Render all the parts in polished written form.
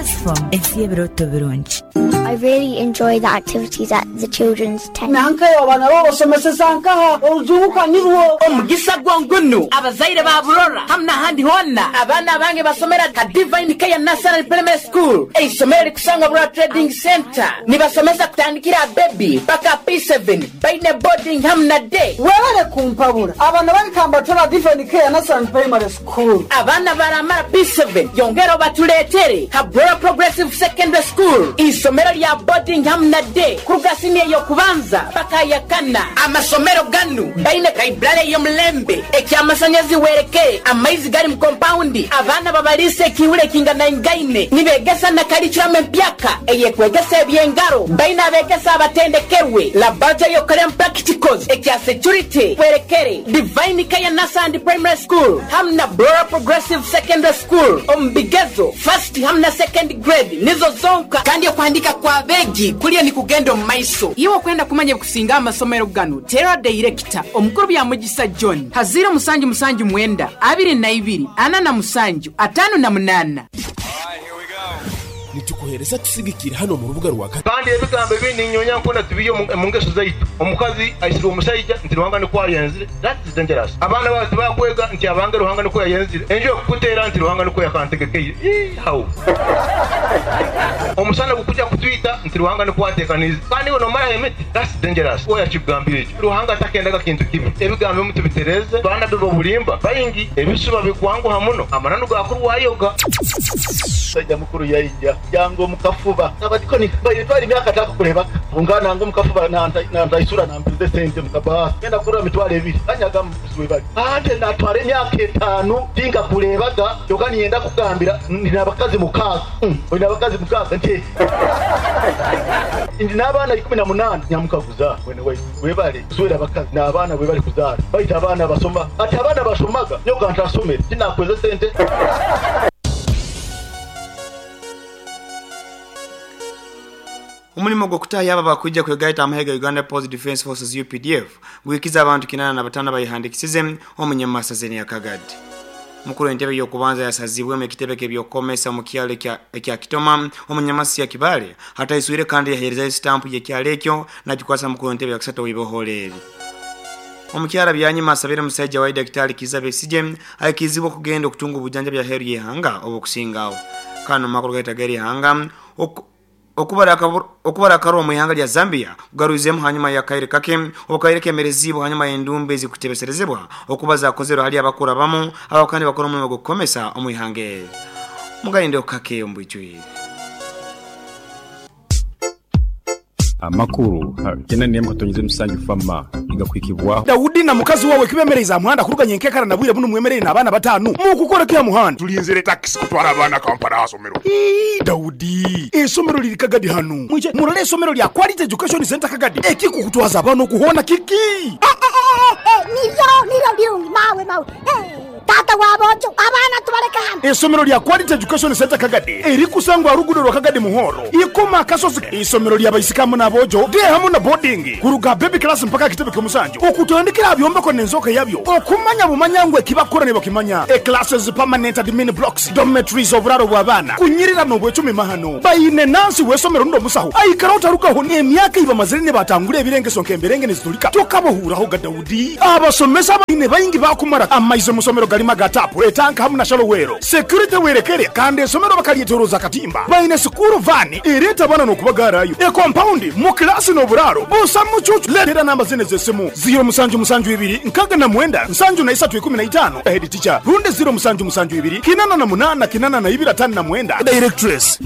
Ensi y'ebirooto birungi. I really enjoy the activities at the children's tent. Nankaye oba nabo obasomeseza nkaha? Orujunguka nirwo. Omugisa gwo ngunu abazaire ba Burora hamu n'ahandi hoona, abaana abange basomera ha Divine Care Nursery Primary School, eisomero erikusangwa Burora Trading Centre. Nibasomesa kutandikira aha baby paka P7, baine boarding hamu na day. Webale kumpabura, abana bange kambatware aha Divine Care Nursery Primary School. Abaana baramara P7, yongera obatuleetere ha Burora Progressive Secondary School, eisomero rya boarding hamu na day kuruga siniya ey'okubanza paka aha yakana. Amasomero ganu gaine library ey'omulembe, eky'amasanyazi werekere, amaizi gari mu kompawundi, abaana babaliisa ekiihuro ekinganaingaine, nibegesa na curriculum empyaka eyekwegesa eby'engaro, baine abegesa abatendekerwe, laboratory ey'okukoreramu practicals, ekya security werekere, Divine Care Nursery and Primary School hamu na Burora Progressive Secondary School omu bigezo first hamu na second grade nizo zonka kandi okuhandika kw'abeegi kuriyo nikugenda omu maiso. Iwe okwenda kumanya ebikusinga aha masomero ganu, teera dayirekita omukuru Byamugisa John ha ziiro musanju musanju mwenda, abiri na ibiri, ana na musanju, ataano na munaana. Nitukuheereza tusigikire hanu omu rubuga rwa. Kandi ebigambo ebi ninyonya nkona tibiyo omu ngeso zaitu. Omukazi aisirwe omusaija nti Ruhanga nikwo ayenzire, that is dangerous. Abaana baawe tibakwega nti abange Ruhanga nikwo yayenzire, enju ekukuteera nti Ruhanga nikwo yakantegekeire. Ii how? Omusana gukuja kutwita nti Ruhanga nikwo atekaniize kandi iwe nomaraho emiti, that's dangerous. Oya akikugambire ekyo. Ruhanga takendaga kintu kibi. Ebigambo ebimu tubitereeze. Baanabbi b'obulimba baingi, ebisuba bikwanguha muno, amananu gaakurwayoga. Musaija mukuru yaija yanga omu kafuba. Abadikoni baire twara emyaka takakurebaga. Ngu nanga omu kafuba nantaisura nampiza esente mu kabaasi. Ngenda kurora mitwaro ebiri banyaga mubuzi webali. Ante natwara emyaka etaanu tinkakurebaga kyoka niinyenda kukugambira ndi nabakazi mukaaga. Oine abakazi mukaaga? Nti ndi n'abaana 18. Nyamukaguza mwene waitu webale kuswera abakazi n'abaana webale kuzaara baitu abaana basoma. Ati abaana bashomaga nyowe ka ntasomere tinakweza esente. Omulimo gw'okutahya abo abakwija kwegaita amahe ga Uganda People's Defence Forces, UPDF, guhikize abantu 85 abayehandikisize omu nyamasa z'enea Kagadi. Mukuru w'entebe y'okubanza yasazibwemu ekitebe ky'ebyokukomesa omu kyalo ekya Kitoma omu nyamasa ya Kibale ataiswire kandi yaheerezayo sitampu y'ekyalo ekyo nagikwasa mukuru w'entebe ya kusatu ow'ibohoro eri. Omukyara Byanyima asabire musaija waye Daktari Kiiza Besigye aikirizibwe okugenda okutunga obujanjabi aheeru y'eihanga obukusingaho. Kanu makuru gaita ag'eri ihanga okubara akaruru omu ihanga lya Zambia kugarwizemu hanyuma y'akaire kake obu kaire kemereziibwe hanyuma y'endumba ezikutebeserezebwa okuba zakozerwe hali abakuru abamu abakaba nibakora omulimo gw'okukomesa omu ihanga eri. Mugarindeho kake omu bwijwire. Amakuru kinani emu katonyeza musanju fama nigakuhikibwaho. Daudi na mukazi wawe kibemereize aha muhanda kuruga nyenkekara na bwire bunu mwemereire n'abaana bataanu. Mukukora ki aha muhanda? Tulinzire takisi kutwara abaana Kampala aha somero. Ii, Daudi, eisomero liri Kagadi hanu. Mwije murole eisomero lya Quality Education Centre Kagadi. Ekikukutwaza abaana okuhoona kiki? Niryo, niryo birungi, mawe, mawe. Taata wa boojo, abaana tubaleke hanu. Eisomero lya Quality Education Centre Kagadi erikusangwa aha ruguudo rwa Kagadi Muhoro, Ikoma Akasozi. Eisomero lya baisiki hamu n'aboojo, day hamu na boarding, kuruga aha baby class mpaka aha kitebe ky'omusanju, okutandikira aha byombeko n'enzooka yabyo, okumanya bumanya ngu eki bakukora nibakimanya. E Classes, permanent admin blocks, dormitories, oburaaro bw'abaana, kunyirira n'obwecumi mahano. Baine nansi w'eisomero rundi omusaho aikara otarugaho n'emyaka ei bamazire nibatangura ebirengeso nk'emberenge niziturika. Tokabahuuraho ga Daudi. Abasomesa baine baingi baakumara amaizi omu somero garimu aga taapu, etanka hamu na shallow well. Security werekere kandi eisomero bakaryetoroza akatimba. Baine sikuuru vaani ereeta abaana n'okubagaarayo. E compound, mu kilaasi n'oburaaro busa mucuucu. Leetera namba zinu ez'esimu, ziiro musanju musanju ibiri nkaaga na mwenda nsanju na isatu ikumi na itaano, Head teacher, rundi ziiro musanju musanju ibiri kinana na munaana kinana na ibiri ataano na mwenda, Directress.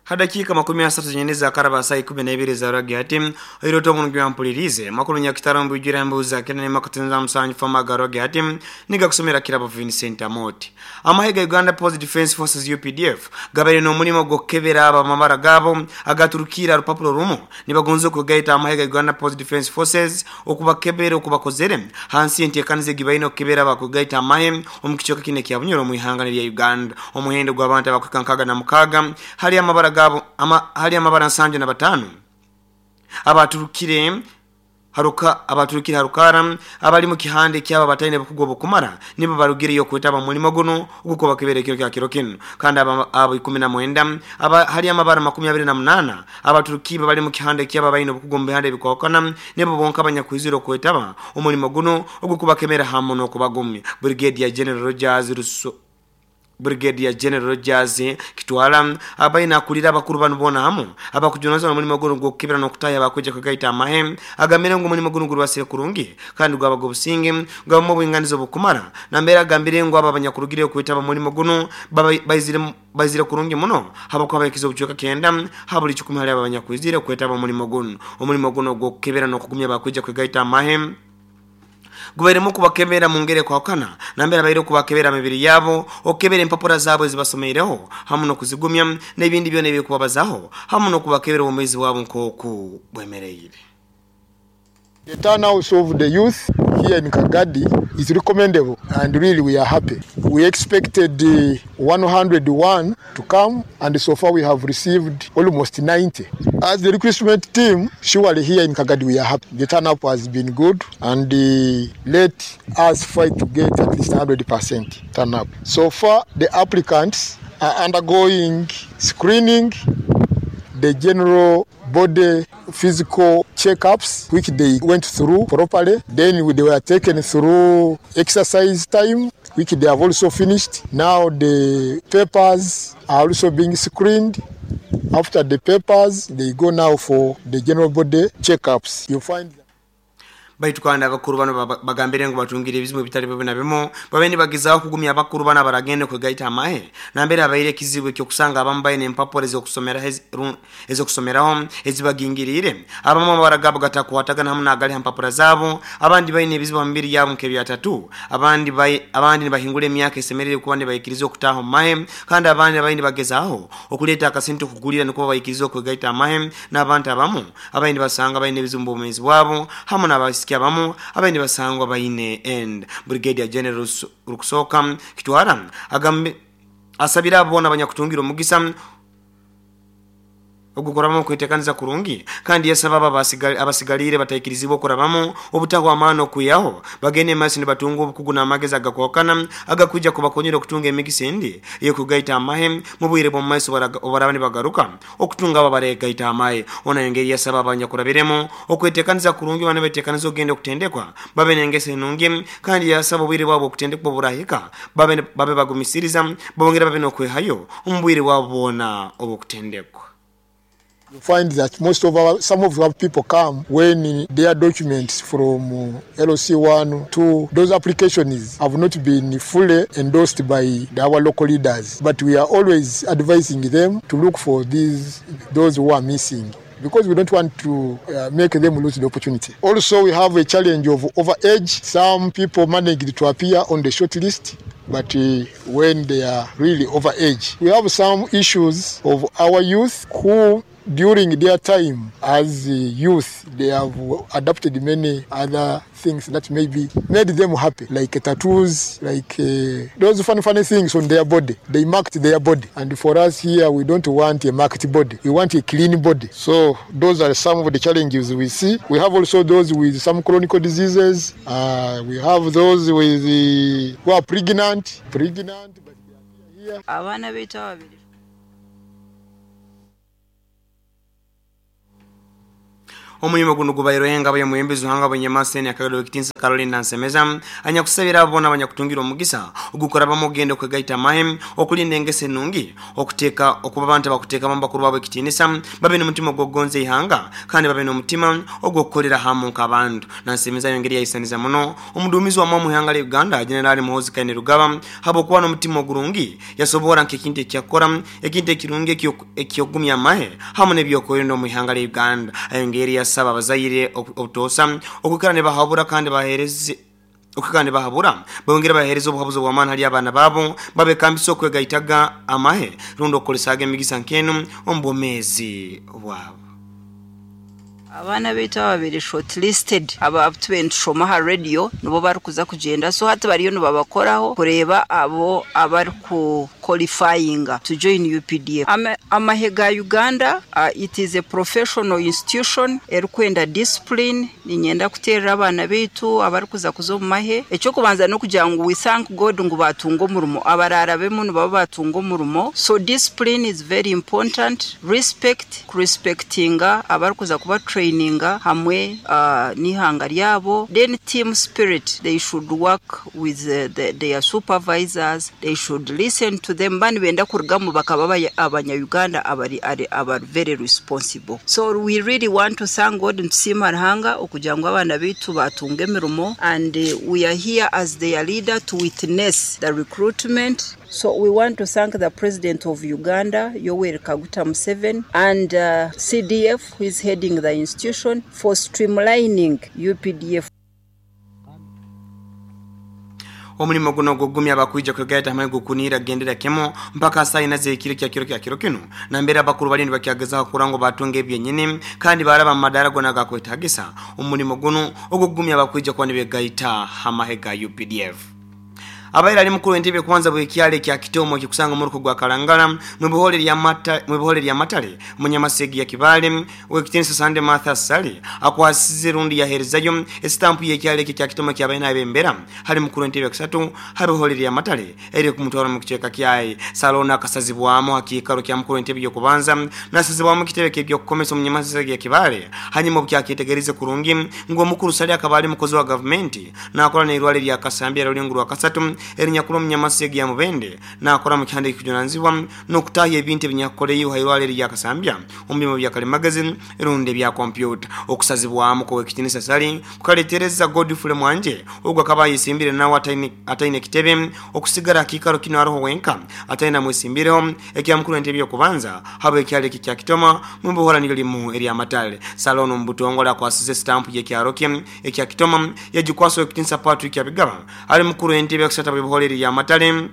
Ha dakiika makumi asatu zenyini ezakaraba saaha ikumi na ibiri eza rwagati, oirote oburungi wampuliriize makuru nyakitara omu bwijwire embuuza kenda n'emwe akatenza musanju fama aga rwagati nigakusomera Kirabo Vincent Amooti. Amahe ga Uganda People's Defence Forces UPDF gabaire n'omurimo gw'okukebera abo amabara gaabo agaturukiire aha rupapura orumu nibagonza okwegaita aha mahe ga Uganda People's Defence Forces okubakebera okubakozere hansi y'enteekaniza egi baine okukebera abakwegaita amahe omu kicweka kinu ekya Bunyoro omu ihanga erya Uganda. Omuhendo gw'abantu abakuhika 66 hali amabara gaabo ama, hali amabara 75 abaturukire Haruka abaturukire harukara abali mu kihande kyaba bataine bukugu obukumara nibo barugireyo kwetaba mulimo guno uguko bakiberekero kya kiro kino. Kandi abo 19 aba hali amabara 28 abaturuki bali mu kihande kyaba baine bukugu mu bihande bikokana nibo bonka abanyakwiziro kwetaba omulimo guno ogukubakemera hamu no kubagumya. Brigadier General Rogers Russo Brigadier General Rogers Kitwala abaina akulira abakuru bano bona hamu abakujunaza omulimo guno gwokukebera n'okutaya bakweja kugaita amahe agamire ngo omulimo guno gurwasire kurungi kandi gwabaga obusinge gwabamu obwinganizo bukumara nambera agambire ngo aba abanyakurugire okwetaba omulimo guno baizire kurungi muno habakuba bakiza obucweka 9 habuli 10 hali aba abanyakwizire okwetaba omulimo guno. Omulimo guno gwokukebera n'okugumya bakweja kugaita amahe gubairemu kubakebera mu ngeri kwakana nambera baire kubakebera mibiri yabo okebera empapura zabo ezibasomeireho hamu n'okuzigumya n'ebindi byona ebikubabazaho hamu n'okubakebera omwezi wabo nk'oku bwemereire. The turnout of the youth here in Kagadi is recommendable, and really we are happy. We expected 101 to come, and so far we have received almost 90. As the recruitment team, surely here in Kagadi we are happy. The turnout has been good, and let us fight to get at least 100% turnout. So far, the applicants are undergoing screening, the general body physical checkups, which they went through properly. Then they were taken through exercise time, which they have also finished. Now the papers are also being screened. After the papers, they go now for the general body checkups. You find baitu kandi abakuru bano bagambire ngo batungire ebizibu bitali bibi na bimu babe nibagezaho kugumya abakuru bana baragende kwegaita amahe nambere abaire ekizibu ekyokusanga abamu baine empapura ezokusomeraho ezibagingirire abamu abaragabo gatakwatagana hamu n'agali ha mpapura zabo abandi baine ebizibu mu mibiri yabo nk'ebyatatu abandi nibahingura emyaka esemerire kuba nibayikiriza okutaaha omu mahe kandi abandi abaine bagezaho okuleeta akasente okugulira nikuba bayikiriza okwegaita amahe n'abantu abamu abaine basanga baine ebizibu mu bwomeezi bwabo hamu n'abasiki abamu abaine basangwa baine end. Brigadier General Rukusoka Kitwara agambe asabira abona abanyakutungira omugisa ogukoramu kwetekaniza kurungi kandi yasaba abasigalire bataikirizibwa okurabamu obutahwa amano kuyaho bagende masi nibatunga obukugu n'amagezi agakwakana agakuja kubakonyera okutunga emigisa endi ey'okugaita amahe mu bwire bw'omu maiso obaraba nibagaruka okutunga abo baregaita amahe. Ona engeri yasaba abanyakurabiremu okwetekaniza kurungi bana betekaniza ogenda okutendekwa babe n'engeso enungi kandi yasaba obwire bwabo okutendekwa burahika babe bagumisiriza bongera babe n'okwehayo omu bwire bwabo bwona obw'okutendekwa. You find that some of our people come when their documents from LOC1 to those applications have not been fully endorsed by our local leaders. But we are always advising them to look for those who are missing, because we don't want to make them lose the opportunity. Also, we have a challenge of overage. Some people managed to appear on the short list, but when they are really overage. We have some issues of our youth who, during their time as youth, they have adopted many other things that maybe made them happy, like tattoos, like those funny things on their body. They marked their body. And for us here, we don't want a marked body. We want a clean body. So those are some of the challenges we see. We have also those with some chronic diseases. We have those with who are pregnant. But they are here. Omulimo guno gubaire nga bwe hanga bwenyamaseni akagalo ekitinsa Caroline Nansemeza anyakusabira abona abanyakutungira omugisa ogukora bamugendo kwegaita amahe okulinda engese ennungi okuteeka okuba abantu abakuteeka bakuru babo ekitinisa babe n'omutima ogw'okugonza ihanga kandi babe n'omutima ogw'okukolera hamu nk'abantu. Nansemeza yongeri yayisaniza muno omuduumizi wa mu ihanga lya Uganda General Muhoozi Kainerugaba habwokuba n'omutima ogurungi yasobora nk'ekintu ekyakora ekintu ekirungi ekyogumya amahe hamu n'ebyokwerinda omu ihanga lya Uganda. Ayongeri saba abazaire obutosa okukara ne bahabura kandi bahereze okukara bahabura bongera bahereze obuhabuzi bw'amaani hali abaana babo babekambisa okwegaitaga amahe rundi okukolesaga emigisa nkenu omu bwomeezi bwabo. Abaana baitu ababiri shortlisted aba tubentushoma ha radio nibo barikuza kugenda, so hati bariyo nibabakoraho kureba abo abari kuqualifyinga to join UPDF. Amahe ga Uganda, it is a professional institution erikwenda discipline. Ninyenda kuterera abaana baitu abarikuza kuza omu mahe. Ekyokubanza n'okugira ngu we thank God ngu batunga omurimo, abararabemu nibaba batunga omurimo. So discipline is very important, respect, kurespectinga abarikuza kuba traininga hamwe n'ihanga ryabo. Then team spirit, they should work with their supervisors, they should listen to them. Ba nibenda kurugamu bakaba abanya-Uganda abari abari very responsible. So we really want to thank God, nitusiima Ruhanga okugira ngu abaana baitu batunga emirimo, and we are here as their leader to witness the recruitment. So we want to thank the President of Uganda, Yoweri Kaguta Museveni, and CDF, who is heading the institution, for streamlining UPDF. Omulimo guno gugumya abakwija kwegaita hamwe gukunira gendera kemo mpaka saa ina z'ekiro kya kiro kya kiro kino nambere abakuru balindi bakyagezaho kurangwa batunga ebyenyini kandi baraba mu madara gona gakwetagisa omulimo guno ogugumya abakwija kuba nibegaita hamahe ga UPDF. Abaira ali mukuru entebe kwanza bwekyale kya Kitomo kikusanga muruko gwa Kalangala mu bihole lya Matale munyamasegi ya Kibale wekitinsa Sande Martha Sali akwasize rundi ya herezayo estampu yekyale kya Kitomo kya baina abembera hali mukuru entebe kusatu habihole lya Matale eri kumutwara mu kicheka kyayi Salona akasazibwamo hakikaro kya mukuru entebe yo kubanza nasazibwamo kitebe kebyo kukomesa munyamasegi ya Kibale hanyuma byakitegereze kurungi ngo mukuru Sali akabali mukozi wa government nakora ne irwale lya Kasambya rulinguru akasatu erinyakulo munyamasegi ya Mubende nakora mu kyande kujunanzibwa nokutahya ebintu ebinyakoleyo hairwale lya Kasambya omubimo bya kale magazine erunde bya computer okusazibwamu ko ekitinisa Sali kukaletereza Godfrey Mwanje ogwa kabayi simbire nawe ataine kitebe okusigara kikaro kino aroho wenka ataina mwesimbireho ekya mukuru entebe yokubanza habo ekyale kya Kitoma mumbuhora nilyo limu eri Amatale Salono mbutongola kwasize stamp ye kyarokye ekya Kitoma yajikwaso ekitinisa Patrick Abigaba ali mukuru entebe yokusata bihoreri ya Matale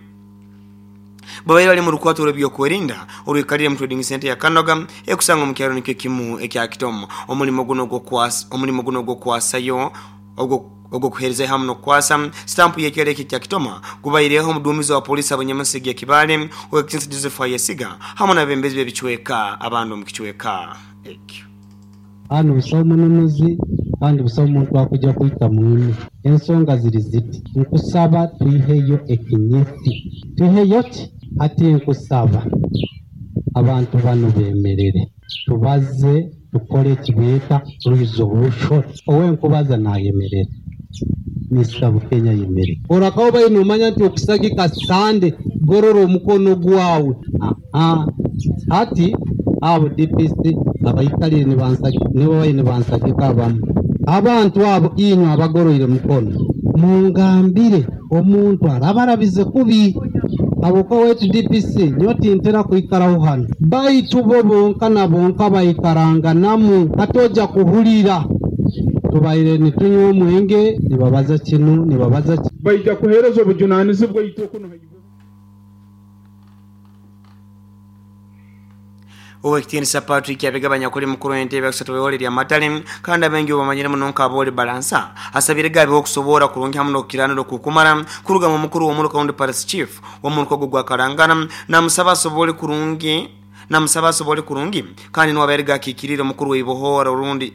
babaire bali mu rukwato rw'ebyokwerinda orwikalire mu trading center ya Kanoga ekusanga mu kyaro nikyo kimu ekya Kitomo omulimo guno gwokwasayo ogwo kuhereza hamu nokwasa stampu yekyale kya Kitoma kubaireho omuduumizi wa polisi abanyamasigi ya Kibale owekitinisa Joseph Ayesiga hamu n'abembezi b'ebicweka abantu mu kicweka ekyo. Hano busawo mununuzi kandi busawo omuntu akujja kuyita mwine. Ensonga ziri ziti, nkusaba tuiheyo ekinyesi, tuiheyo ki ati nkusaba abantu bano bemerere tubaze tukole ekibeeta resolution. Owenkubaza nayemerere Mr. Bukenya yemere orakawo baine omanya nti okusagika Sande gorora omukono gwawe. Ati abo DPC abayikalire nibo baine bansagika abamu abantu abo inywe abagoroire mukono mungambire omuntu arabarabize kubi abuko wetu DPC nyoti ntera kuikaraho hano baitu bo bonka na bonka bayikaranganamu katoja kuhulira tubaire nitunywa omwenge nibabaza kinu nibabaza baija kuhereza obujunanizibwa itoko. Owekitinisa Patrick Abigabanya kuli mukuru entebe kusatu bihole lya Matale kandi abengi obamanyire muno nk'aboli balansa asabire gabe okusobora kurungi hamu n'okukiraniro kukumara kuruga mu mukuru w'omuruka wundi Parish Chief w'omuruka gwa Karangana namusaba asobole kurungi kandi n'waberega akikirire omukuru w'ibohora urundi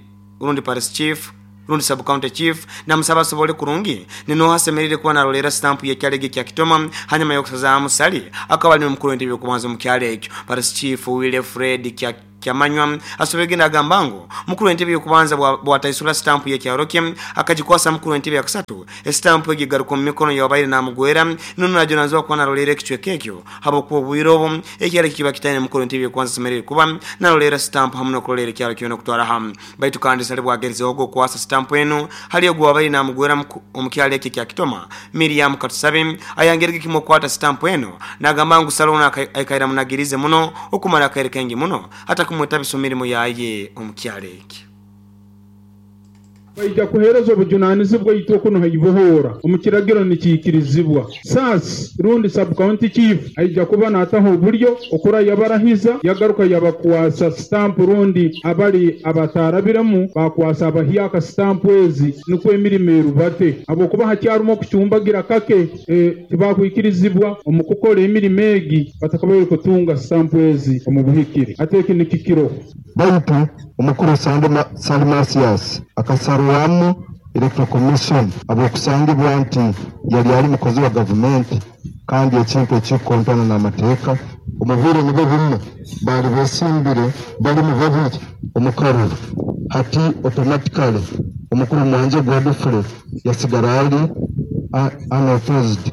Parish Chief rundi sub county chief namusaba asobole kurungi nino hasemerire kuba narolera stamp yekyalege kya Kitoma hanyuma yokusazaamu Sali akaba ali mukuru entebe kubanza mu kyalo ekyo. Parish Chief Wilfred Kyamanywa asobegenda agamba ngu mukuru entebe yokubanza bwataisula stamp yekyalo kye akajikwasa mukuru entebe yakusatu estamp egigaruka mu mikono yabaire namugwera nino najonanzwa kuba narolera ekicweka ekyo habwokuba obwire obwo ekyalo kiba kitaine mukuru entebe yokubanza asemerire kuba narolera stamp hamu n'okurolera ekyalo kyona okutwara hamu baitu kandi Sali bwagerizeho ogwokwasa stamp eno hali ogwo wabaire namugwera omukyalo ekyo kya Kitoma Miriam Katusabe ayangerege kimwe okwata stamp eno nagamba ngu Salona aikaira munagirize muno okumara akaire kaingi muno hata kumwetabiso mirimu yaye omukyalo ekyo. Baija kuheereza obujunanizibwa itwe kuno haibohoora omu kiragiro nikiikirizibwa. SAS rundi sub county chief aija kuba naataho oburyo okura yabarahiza yagaruka yabakwasa stamp rundi abali abatarabiremu bakwasa abahyaka stamp ezi nikwo emirimo erubate habwokuba hakyarumu okucumbagira kake tibakwikirizibwa omu kukora emirimo egi batakabaire kutunga stamp ezi omu buhikire ate eki nikikiro. Baitu omukuru Sande Mathias akasarwamu Electoral Commission habw'okusangibwa nti yali ali mukozi wa gavumenti kandi ekintu ekikukontana n'amateeka. Omu bwire nibwo bumwe baali beesimbire balimu babiri omu karuru, hati automatically omukuru Mwanje Godfrey yasigara ali unopposed.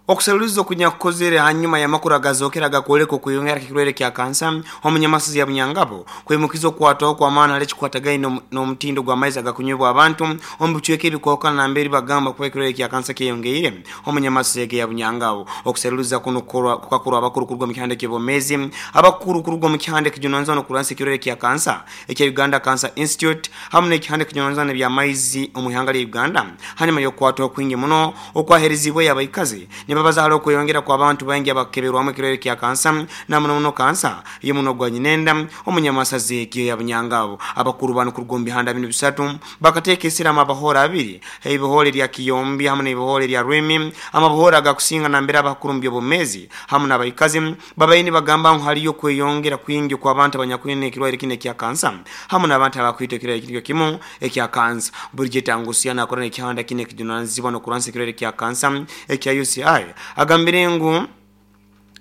Okuseruliza okunyakukozere hanyuma y'amakuru agazokera agakwoleka okweyongera kw'ekirwaire kya kansa omunyamasozi ya Bunyangabo kwimukiza okukwatwaho kw'amaani hali ekikwatagaine n'omutindo gw'amaizi agakunywebwa abantu omu bicweka ebikwahukana nambere bagamba kuba ekirwaire kya kansa kyeyongeire omunyamasozi ege ya Bunyangabo. Okuseruliza kunu kukakorwa abakuru kuruga omu kihanda eky'obwomeezi, abakuru kuruga omu kihanda ekijunanizibwa n'okurwanisa ekirwaire kya kansa ekya Uganda Cancer Institute hamu n'ekihanda ekijunanizibwa n'eby'amaizi omu ihanga lya Uganda hanyuma y'okukwatwaho kwingi muno okwaheerezibweyo abaikazi nibabaza hali okweyongera kw'abantu baingi abakukeberwamu ekirwaire kya kansa na muno muno kansa y'omunwa gwa nyinenda omunyamasazi egyo ya Bunyangabo. Abakuru banu kuruga omu bihanda binu bisatu bakateeka esira amabahoora abiri, eibohoora erya Kiyombi hamu n'eibohoora erya Rwimi, amabohoora agakusinga nambere abakuru omu by'obwomeezi hamu n'abaikazi babaire nibagamba ngu haliyo okweyongera kwingi okw'abantu abanyakwine ekirwaire kinu ekya kansa hamu n'abantu abakwitwa ekirwaire nikyo kimu ekya kansa. Bridget Angucia nakora n'ekihanda kinu ekijunanizibwa n'okurwanisa ekirwaire kya kansa ekya UCI agambire ngu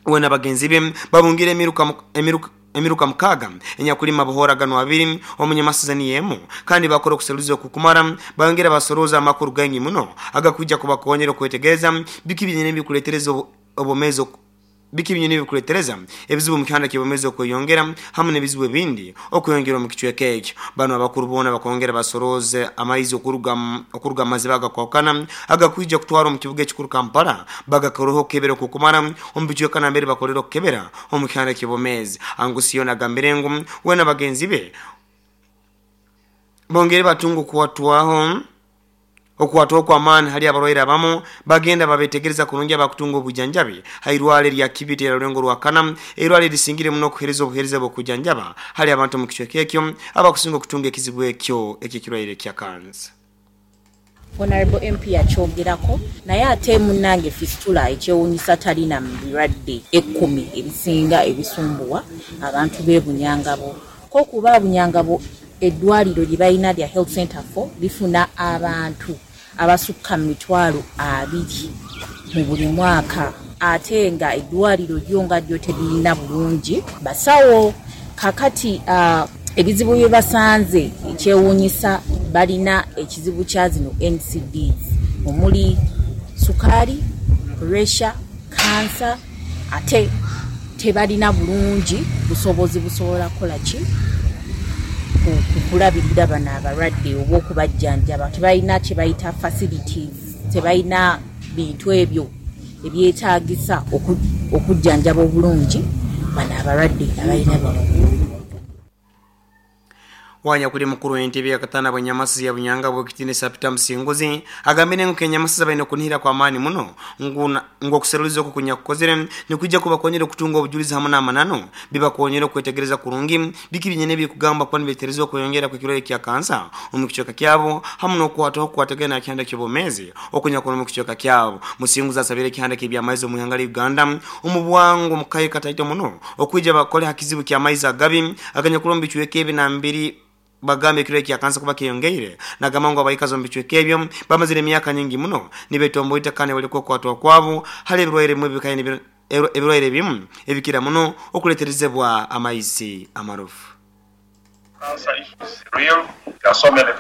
we na bagenzi be babungire emiruka mukaaga enyakulima amabohoora ganu abiri omunyamasiza niyo emu kandi bakora okuseruliza okukumara bayongera basorooza amakuru gaingi muno agakwija kubakonyera okwetegereza biki byenyini ebikuletereza obwomeezi Biki binyini ebikuletereza ebizibu omu kihanda ky'obwomeezi okweyongera hamu n'ebizibu ebindi okweyongera omu kicweka ekyo? Banu abakuru boona bakongera basorooze amaizi okuruga okuruga mu maziba agakwahukana agakwija kutwarwa omu kibuga ekikuru Kampala bagakoreho okukebera okukumara omu bicweka nambere bakolera okukebera omu kihanda ky'obwomeezi. Angusioni agambire ngu we na bagenzi be bongere batunga okukwatwaho Okukwatwaho kw'amaani hali abarwaire abamu, bagenda babetegereza kurungi abakutunga obwijanjabi ha irwale erya Kibiti erya Rulengo Rwakana, eirwale erisingire muno okuhereza obuhereza bw'okwijanjaba hali abantu omu kicweka ekyo abakusinga okutunga ekizibu ekyo eky'ekirwaire kya kansa. Honourable MP yakyogerako naye ate munange fistula ekyewunyisa talina mu birwadde ekkumi ebisinga ebisumbuwa abantu be Bunyangabo. Ko kuba Bunyangabo eddwaliro lye balina lya Health Centre for lifuna abantu abasukka mu 20,000 mu buli mwaka ate nga eddwaliro lyo nga lyo teririna bulungi basawo. Kakati ebizibu bye basanze ekyewuunyisa balina ekizibu kya zino NCDs omuli sukaali, puresha, kansa ate tebalina bulungi busobozi busobola kukola ki kulabirira bano abalwadde oba okubajjanjaba. Tebalina kye bayita facilities, tebalina bintu ebyo ebyetaagisa okujjanjaba obulungi bano abalwadde abalina bino. Wanyakuli mukuru w'entebe yakatana bw'enyamasizi ya Bunyangabo Ow'ekitiinisa Peter Musinguzi agambire ngu kenyamasizi abaine okunihira kw'amaani muno ngu ngu okuseruliza oku kunyakukozere nikwija kubakonyera okutunga obujulizi hamu n'amananu bibakonyere okwetegereza kurungi biki byenyini ebikugambwa kuba nibiretereza okweyongera kw'ekirwaire kya kansa omu kicweka kyabo hamu n'okukwatwaho okukwatagaine aha kihanda ky'obwomeezi okunyakuri omu kicweka kyabo. Musinguzi asabire ekihanda ky'ebyamaizi omu ihanga lya Uganda omu bwangu omu kaire kataito muno okwija bakole ha kizibu ky'amaizi agabi aganyakuri omu bicweka ebi nambiri bagamba ekirwaire kya kansa kuba kyeyongeire. Nagamba ngu abaikazi omu bicweka ebyo bamazire emyaka nyingi muno nibetomboita kandi niboleka okukwatwaho kwabo hali ebirwaire ebimu ebirwaire ebimu ebikira muno okuleterezebwa amaizi amarofu. Cancer is real, there are so many.